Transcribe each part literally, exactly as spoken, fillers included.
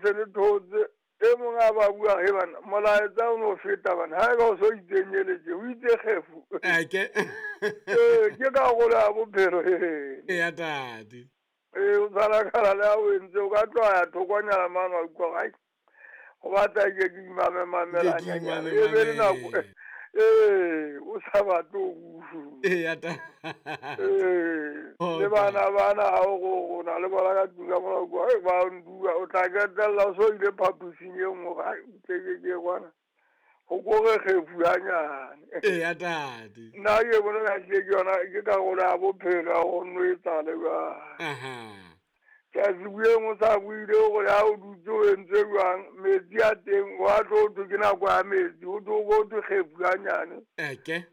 se le thotse e mong a ba bua he bana molaetsa o no feta bana ha e ba o so itsenyeletse o itse kgefu eke ee ke karolo ya bophelo he eya tate ee o tshwanakala le ha o entse o ka tloha ya thokonyana mane wa utlwa ai go batla ke ke imamemamelanyana e be le nako ee o sa batle ho bua eya tate ee le bana bana ha o go na le bona ka tlung ka mona kwa e ba ndua o tla ketella o so ile phaposing e nngwe ga tle ke ke kwana go kore kgefu hanyane eya tate nna ke bona ka ke yona ke karolo ya bophelo ya go nwetsa le jwang aha ke a se bueng o sa buile gore ha o dutse o entse jwang metsi a teng wa tlo thwe ke nako ya metsi o tlo go thwe kgefu hanyane eke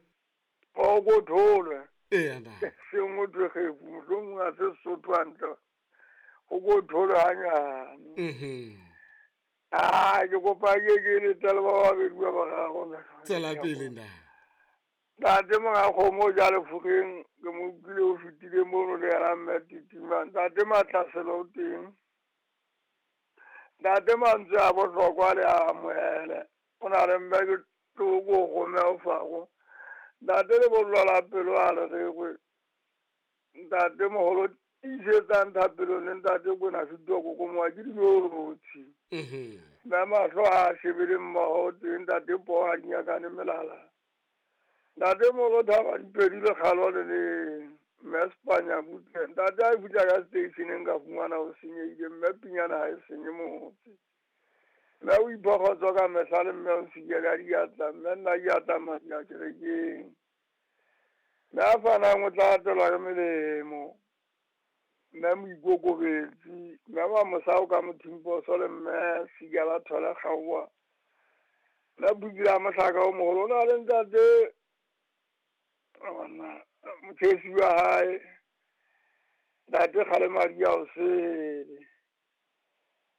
o ko tholwe eya tate seng o thwe kgefu mohlomong ha se Sesotho hantle o ko tholwe hanyane mhm ah ke kopa ke ke letela ba babedi ba gago tswela pele ntate ntate monga kgomo ja lefokeng ke mo utlwile o fetile mono le yena mme Titima ntate Matlaselo o teng ntate mantswe a bohlokwa le a amohele o na le mme ke tloko gome o fago ntate le bollo la pelo a le regwe ntate moholo tiisetsang thapelong le ntate Kwena Setoko ko moa ke dinotshi mhm mme mahlo a shebile mmoho teng ntate poo a dinyakane melala ntate moholo thaba dipedi le kgalo le le mme Spanya butle ntate a fihla ka stationeng ka fumana o senyehile mme pinyana ha e senye motse mme o iphogotswa ka mehla le mme o sike ka diatla mme nna ke a tsamaya kerekeng mme a fanang o tla atelwa ke melemo mme moikokobetsi mme wa mosao ka mothimposo le mme Sigela Thole Kgaoa mme Bukile a mohlaka o moholo o na le ntate banna mothesi wa hae ntate kgale madi a o sele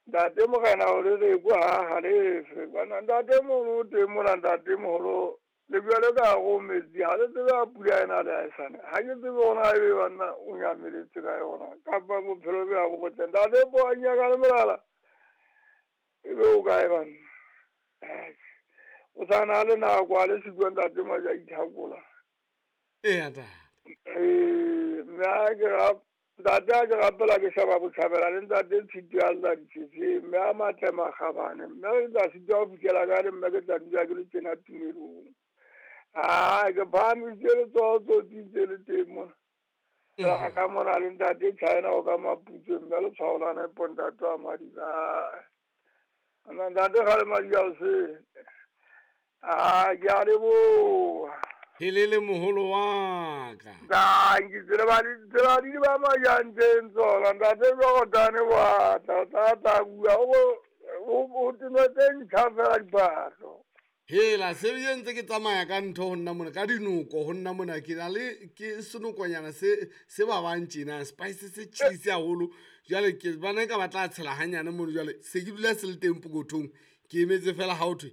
ntate morena o le reko ha halefe bana ntate mono o teng mona ntate moholo le bjale ka go metsi ha le tsebe a pula ena le a esane ha ke tsebe gona ebe banna o nyameletse ka yona kapa bophelo bja bo botle ntate po a nyaka le molala ebe o kae banna o sa na le nako a le siko ntate maja ithakola eya tate ee mme a ke ra ntate a ke rapela ke shaba botjhabela le ntate Tshitwe a lla ditshese mme a matle makgabane mme ke tla sitwa ho fihlela ka le mme ke tla dula ke le tjena tumelong ah ke phahamisitse letsoho tsotsitse le teng mona ga ka mona le ntate China o ka Maputswe mme le tshwao la nepo ntate wa Madiba ana ntate ga le madi a o se ah ke a leboha helele moholo wa ka danki tsela ba di tsela di ba majantseng tsona ntate Jordan wa tla tla tla bua o o tse ntjha fela diphahlo hela se ntse ke tsamaya ka ntho ho nna mona ka dinoko ho nna mona ke na le ke senokonyana se se ba bang tjena spice se chilisi haholo jwale ke bana ka batla tshela hanyane mono jwale se ke dula se le teng pokothong ke emetse fela ha o thwe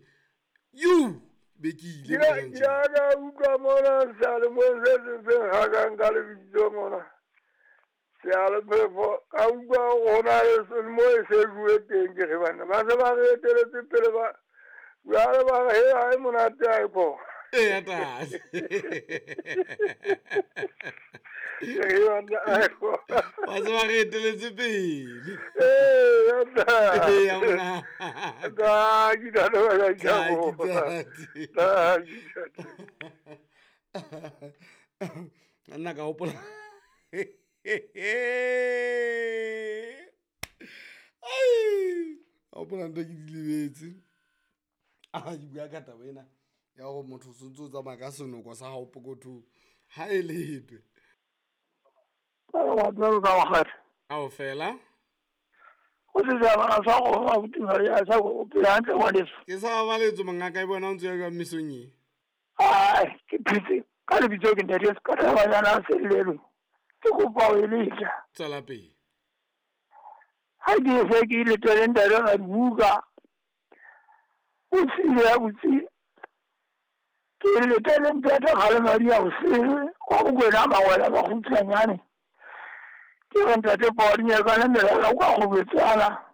you be ke ile ke ka utlwa mona seyalemoyeng se seng se nkgakang ka lebitso mona seyalephefo ka utlwa gona le mo e se bue teng ke re banna ba se ba re eteletse pele ba jwale ba re he ha e monate ha e phoga eya tate ba se ba re eteletse pele ee tate eya mona Danki ntate wa ka ke a boha. Danki Danki ntate. Nna ka hopola ai ka hopola ntho ke di lebetse a ke bua ka taba ena ya hore motho o sontse o tsamaya ka senoko sa hao pokothong ha e letwe ao fela ke sa babaletso mongaka e bona o ntse ya jwang mesong e Ai, ke phetse ka lebitso ke ntate ka tabanyana sellelo ke kopa ho eletsa tswela pele ha ke se ke ile tele ntate ga dibuka o tsile ya botse ke le tele ntate ga le madi a bosele kwa bokwena mawela ba kgutshwanyane ke re ntate Paul nyaka le melala kwa go betsana